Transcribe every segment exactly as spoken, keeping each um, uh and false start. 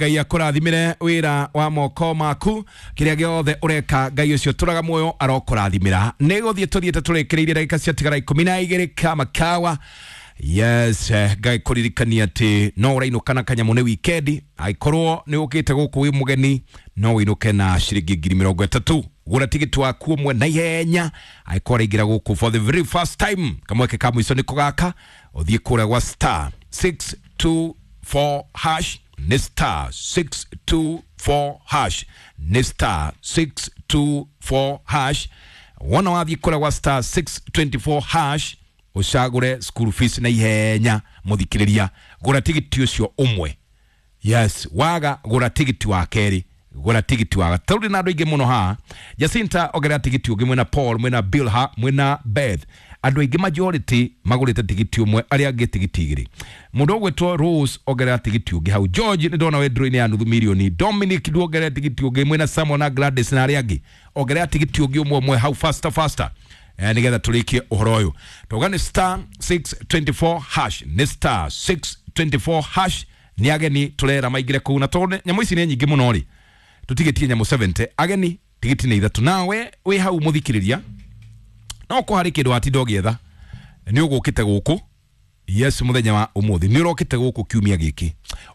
Ngai akũrathimĩre wĩra wa moko maku, kĩrĩa gĩothe ũreka Ngai ũcio tũraga muoyo arokũrathimĩra. Nĩ gũthiĩ tũthiĩte tũrĩkĩrĩirie ndagĩka ciatigara ikũmi na igĩrĩ kama kawa. Yes, eh, Ngai kũririkania atĩ no ũrainũka na kanyamũ nĩ wikendi. Angĩkorwo nĩ ũkĩte gũkũ wĩ mũgeni, no ũinũke na ciringi ngiri mĩrongo ĩtatũ. Gũra tigiti waku ũmwe na ihenya angĩkorwo ũraingĩra gũkũ for the very first time. Kamweke ka mũico nĩko gaka, ũthiĩ kũrĩa gwa star six two four hash, nĩ star six two four hash, nĩ star six two four hash. Wona wathiĩ kũrĩa gwa star six twenty four hash, ũcagũre school fees na ihenya. Mũthikĩrĩria, gũra tigiti ũcio ũmwe. Yes, waga gũra tigiti wa kerĩ, gũra tigiti wa gatatũ. Ndĩ na andũ aingĩ mũno haha. Jacinta, ongerera tigiti ũngĩ. Mwĩna Paul, mwĩna Bilha, mwĩna Beth. Andũ aingĩ majority magũrĩte tigiti ũmwe, arĩa angĩ tigiti igĩrĩ. Mũndũ ũgwĩtwo Rose, ongerera tigiti ũngĩ hau. George, nĩ ndona wĩ draw-inĩ ya nuthu milioni. Dominic, nduongerera tigiti ũngĩ. Mwĩna Samuel na Gladys na arĩa angĩ, ongerera tigiti ũngĩ ũmwe ũmwe hau, faster faster, eh, nigetha tũrĩkie ũhoro ũyũ. Tauga nĩ star six twenty four hash, nĩ star six twenty four hash. Nĩ ageni tũrera maingĩre kũu, na tondũ nyamũ ici nĩ nyingĩ mũno rĩ, tũtigĩtie nyamũ seventy. Ageni tigiti nĩ ithatũ. Nawe wĩ hau mũthikĩrĩria, no ko harĩ kĩndũ watinda ũgĩetha, nĩ ũgũkĩte gũkũ. Yes, mũthenya wa ũmũthĩ nĩ ũrokĩte gũkũ kiumia gĩkĩ,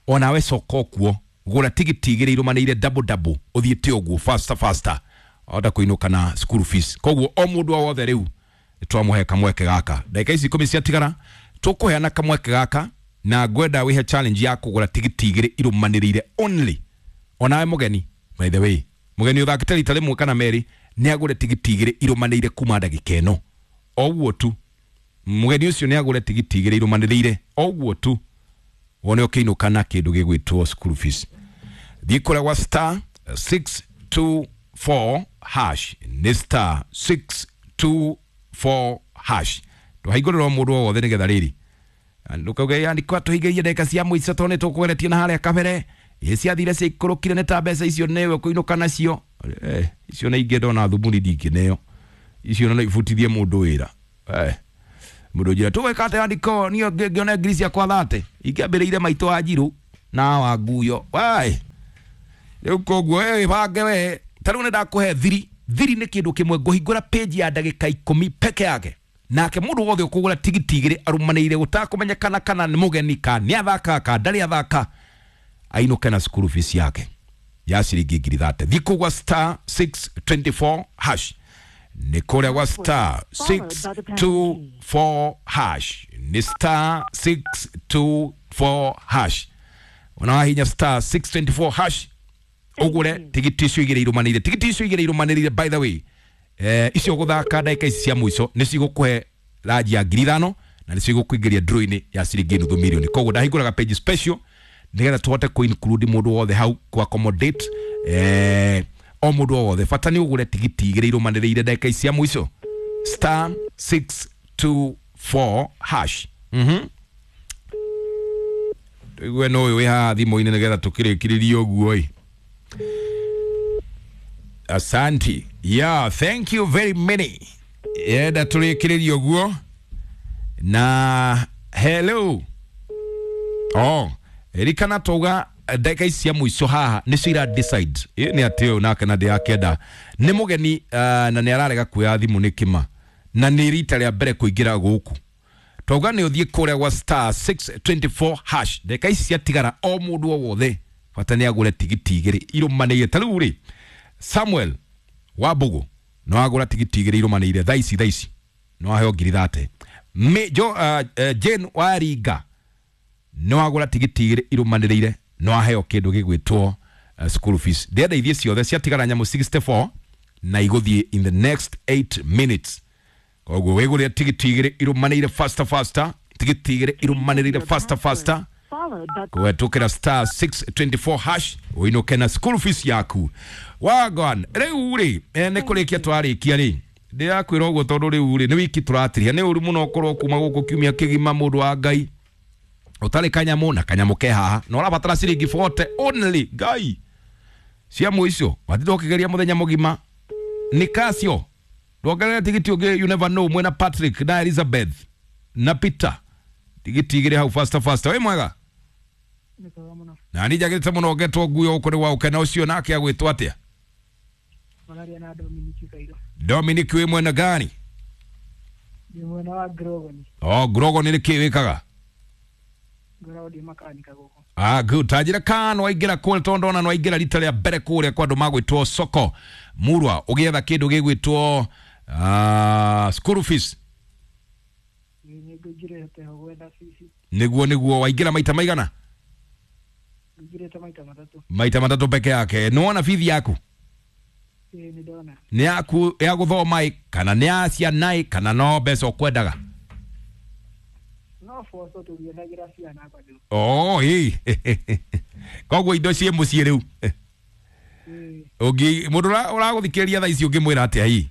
onawe coka kuo, gũra tigiti igĩrĩ irũmanĩire double double, ũthiĩte ũguo faster faster, onda kũinũka na school fees. Koguo o mũndũ o wothe rĩu twamũhe kamweke gaka. Ndagĩka ici ikũmi ciatigara, tũkũheana kamweke gaka, na ngwenda wĩhe challenge ya kũgũra tigiti igĩrĩ irũmanĩrĩire only. Onawe mũgeni, by the way, mũgeni ũthakĩte rita rĩmwe kana merĩ, nĩ agũre tigiti igĩrĩ irũmanĩrĩire kuma ndagĩka ĩno. O ũguo tu, mũgeni ũcio nĩ agũre tigiti igĩrĩ irũmanĩrĩire, o ũguo tu, wone ũkĩinũka na kĩndũ gĩgwĩtwo school fees. Thiĩ kũrĩa gwa star six two four hash, nĩ star six two four hash. Tũhingũrĩra o mũndũ o wothe nĩgetha rĩrĩ ndũkauge yandĩkwa tũhingĩrie ndagĩka cia mũico, tondũ nĩ tũkũgeretie na harĩa kabere ĩ ciathire ciaikũrũkire nĩ ta mbeca icio nĩwe kũinũka nacio. Eh, icio na ingĩ ndona thumuni ndingĩneo icio, no ibutithie mũndũ wĩra. Eh, mũndũ njĩra tũgwĩka atĩa andĩko niĩ ngĩone ngiri ciakwa thate ingĩambĩrĩire maitũ wa njirũ na wa nguyo wai. Rĩu koguo we bange we ta rĩu nĩ ndakũhe thiri. Thiri nĩ kĩndũ kĩmwe, ngũhingũra page ya ndagĩka ikũmi peke yake, nake mũndũ wothe ũkũgũra tigiti igĩrĩ arũmanĩire, gũtakũmenyekana kana nĩ mũgeni ka nĩ athaka ka ndarĩ athaka, ainũke na school fees yake ya ciringi ngiri thate. Thiĩ kũu gwa star six twenty four hash, nĩ kũrĩa gwa star six two four hash, nĩ star six two four hash. Ona wahinya star six twenty four hash, ũgũre tigiti icio igĩrĩ irũmanĩrĩire. Tigiti icio igĩrĩ irũmanĩrĩire, by the way, eh, icio gũthaka ndagĩka ici cia mũico nĩ cigũkũhe ranji ya ngiri ithano na nĩ cigũkũingĩria draw-inĩ ya ciringi nuthu milioni. Koguo ndahingũraga page special nĩgetha tũhote kũ include mũndũ wothe hau, kũ accommodate eh, o mũndũ o wothe. Bata nĩ ũgũre tigiti igĩrĩ irũmanĩrĩire ndagĩka ici cia mũico, star six two four hash. Mhm tũigue no ũyũ wĩ haha thimũ-inĩ nĩgetha tũkĩrĩkĩrĩrie ũguo ĩ. Asante. Yeah, thank you very many. Yenda tũrĩkĩrĩrie ũguo na hello. Oh, ririkana twauga ndagĩka ici cia mũico haha nĩcio ira decide. Ĩ nĩ atĩ ũyũ nake na ndĩrakĩenda nĩ mũgeni, uh, na nĩ ararega kuoya thimũ nĩ kĩma, na nĩ rita rĩa mbere kũingĩra gũkũ. Twauga nĩ ũthiĩ kũrĩa gwa star six twenty four hash. Ndagĩka ici ciatigara, o mũndũ o wothe bata nĩ agũre tigiti igĩrĩ irũmanĩire. Ta rĩu rĩ, Samuel wa Mbugu no agũra tigiti igĩrĩ irũmanĩire thaa ici, thaa ici no aheo ngiri thate. Me, jo, uh, uh, Jane wa Ringa no agũra tigiti igĩrĩ irũmanĩrĩire, no aheo kĩndũ gĩgwĩtwo uh, school fees. Ndĩrenda ithiĩ ciothe, ciatigara nyamũ sixty four na igũthiĩ in the next eight minutes. Koguo wĩgũrĩre tigiti igĩrĩ irũmanĩrĩire faster faster, tigiti igĩrĩ irũmanĩrĩire faster faster, kũhetũkĩra star six twenty four hash, ũinũke na school fees yaku. Wagwan, rĩu rĩ, eh, nĩ kũrĩkia twarĩkia rĩ, ndĩrakwĩra ũguo tondũ rĩu rĩ nĩ wiki tũratiria. Nĩ ũru mũno ũkorwo kuma gũkũ kiumia kĩgima, mũndũ wa Ngai, ũtarĩ kanyamũ na kanyamũ ke haha, na ũrabatara ciringi forty only. Ngai cia mũico watinda ũkĩgeria mũthenya mũgima nĩ kacio. Ndwongerere tigiti ũngĩ, you never know. Mwena Patrick na Elizabeth na Peter, tigiti igĩrĩ hau faster faster. Wĩ mwega? Na ni njagĩrĩte mũno ngetwo nguo gũkũ nĩ gwa gũkena ũcio nake agwĩtwo atĩa? Mararia na Dominic Kairo. Dominic wĩ mwena gani? Ndĩ mwena wa Grogoni. Oh, Grogoni nĩ kĩ wĩkaga? Ngoragwo ndĩ makanika gũkũ. Ah, good. Tanjĩra kana waingĩra kũrĩa tondũ ndona nĩwaingĩra rita rĩa mbere kũrĩa kwa andũ magwĩtwo soko murwa ũgĩetha kĩndũ gĩgwĩtwo uh, school fees. Nĩ ngũingĩrĩte ho gwetha bici. Nĩguo nĩguo waingĩra maita maigana? Ngũingĩrĩte maita matatũ. Maita matatũ peke yake. Nĩwona bithi yaku? Ĩĩ nĩ ndona. Nĩ yaku ya gũthoma ĩ kana nĩ ya ciana ĩ kana no mbeca ũkwendaga? No boco tũgĩethagĩra ciana bado. Oh, ĩ. Koguo indo ciĩ mũciĩ rĩu. Ĩĩ. Ũngĩ mũndũ ũragũthikĩrĩria thaa ici ũngĩmwĩra atĩa ĩ?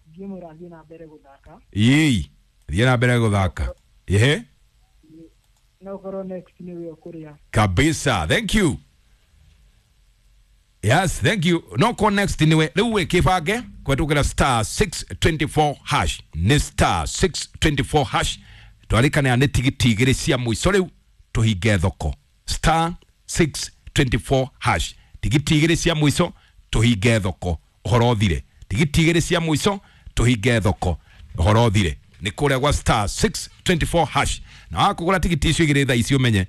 Ingĩmwĩra athiĩ na mbere gũthaka. Ĩ, thiĩ na mbere gũthaka. Ehe. No ũkorwo next nĩwe ũkũrĩa. Kabisa. Thank you. Yes, thank you. No ko next niwe rĩu wĩ kĩbange kwetukĩra star six twenty-four hash. Nĩ star six twenty-four hash. Twarĩkana nĩ tigiti igĩrĩ cia mũico rĩu tũhinge thoko. Star six twenty-four hash. Tigiti igĩrĩ cia mũico tũhinge thoko. Ũhoro ũthire. Tigiti igĩrĩ cia mũico tũhinge thoko. Ũhoro ũthire. Nĩ kũrĩa gwa star six twenty-four hash. Na wakũgũra tigiti icio igĩrĩ thaa ici ũmenye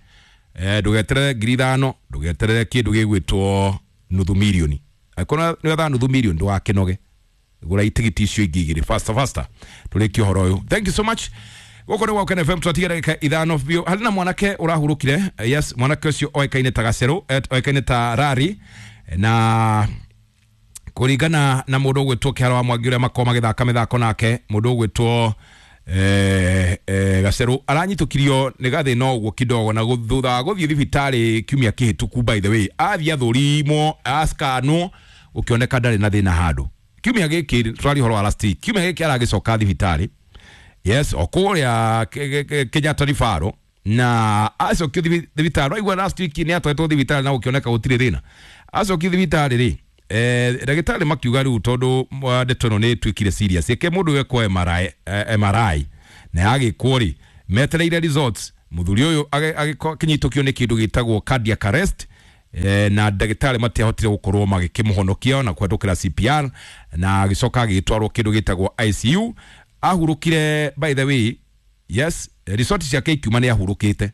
eh ndũgeterere ngiri ithano, ndũgeterere kĩndũ gĩgwĩtwo nuthu milioni. Angĩkorwo nĩ wethaga nuthu milioni ndũgakĩnoge. Gũra itigiti icio ingĩ igĩrĩ faster faster tũrĩkie ũhoro ũyũ. Thank you so much. Gũkũ nĩ gwa F M twatiga ndagĩka ithano biũ. Harĩ na mwanake ũrahurũkire. Yes, mwanake ũcio oĩkaine ta Gacerũ, oĩkaine ta Rari, na kũringana na mũndũ ũgwĩtwo Kĩharo wa Mwangi ũrĩa makoragwo magĩthaka mĩthako nake, mũndũ ũgwĩtwo eh eh Gacerũ aranyitũkirio nĩ gathĩna ũguo kidogo, na thutha wa gũthiĩ thibitarĩ kiumia kĩhĩtũku, by the way athiĩ athũrimwo askanwo gũkĩoneka ndarĩ na thĩna handũ. Kiumia gĩkĩ tũraria ũhoro wa last week, kiumia gĩkĩ aragĩcoka thibitarĩ, yes, o kũrĩa Kenyatta Referral, na acokio thibitarĩ. Waigua last week nĩ atwaretwo thibitarĩ na gũkĩoneka gũtirĩ thĩna. Acokio thibitarĩ rĩ, eh ndagĩtarĩ makiuga rĩu tondũ ndeto ĩno nĩ ĩtuĩkire serious, ĩke mũndũ ekwo M R I, M R I na yagĩkwo rĩ, metereire results. Mũthuri ũyũ agĩkinyitũkio nĩ kĩndũ gĩtagwo cardiac arrest, eh, na ndagĩtarĩ matiahotire gũkorwo magĩkĩmũhonokia na kũhetũkĩra C P R, na agĩcoka agĩtwarwo kĩndũ gĩtagwo I C U. Ahurũkire, by the way, yes, result ciake ikiuma nĩ ahurũkĩte,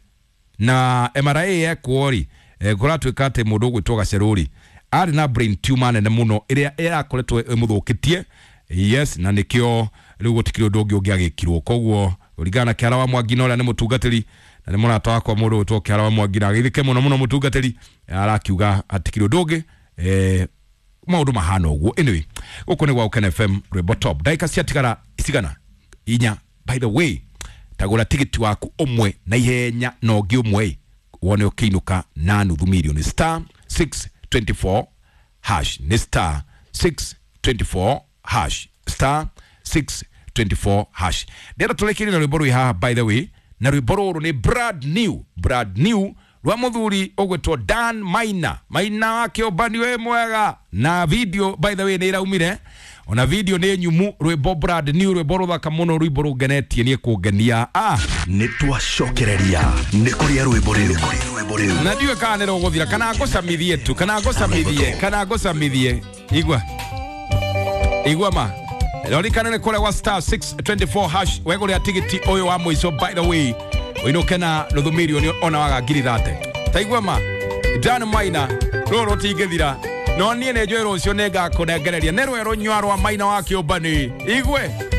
na M R I yekwo rĩ, kũratuĩka atĩ mũndũ ũgwĩtwo Gacerũ rĩ arĩ na brain tumor nene mũno ĩrĩa ĩrakoretwo ĩmũthũkĩtie, yes, na nĩkĩo rĩu gũtikĩrĩ ũndũ ũngĩ ũngĩagĩkirwo. Koguo kũringana na Kĩhara wa Mwangi na ũrĩa nĩ mũtungatĩri na nĩ mũrata wakwa mũndũ ũgwĩtwo Kĩhara wa Mwangi, na agĩthike mũno mũno mũtungatĩri, arakiuga hatikĩrĩ ũndũ ũngĩ, eh, maũndũ mahana ũguo. Anyway, gũkũ nĩ gwa Ũkena F M rwĩmbo top. Ndagĩka ciatigara cigana? Inya. By the way, tagũra tigiti waku ũmwe na ihenya na ũngĩ ũmwe wone ũkĩinũka na nuthu milioni. Star six twenty-four hash. Ni star six twenty-four hash. Star six twenty-four hash. Ndĩrenda tũrĩkĩrie na rwĩmbo rwĩ haha, by the way, na rwĩmbo rũrũ nĩ brand new, brand new rwa mũthuri ũgwĩtwo Dan Maina. Maina wa kĩũmbani wĩ mwega, na video by the way nĩ ĩraumire, ona video nĩ nyumu. Rwĩmbo brand new, rwĩmbo rũthaka mũno, rwĩmbo rũngenetie niĩ kũngenia. Ah, nĩ twacokereria nĩ kũrĩa rwĩmbo rĩu, na ndiũĩ kana nĩ rũgũthira kana ngũcamithie tu, kana ngũcamithie, kana ngũcamithie. Igua igua ma rorikana nĩ kũrĩa gwa star six twenty-four hash wegũrĩa tigiti ũyũ wa mũico, by the way ũinũke na nuthu milioni ona waga ngiri thate. Taigua ma Dan Maina, rũrũ rũtingĩthira, no niĩ nĩ njũĩ rũciũ nĩ ngakũnengereria. Nĩ rwerũ nyua rwa Maina wa kĩũmbani. Igwe.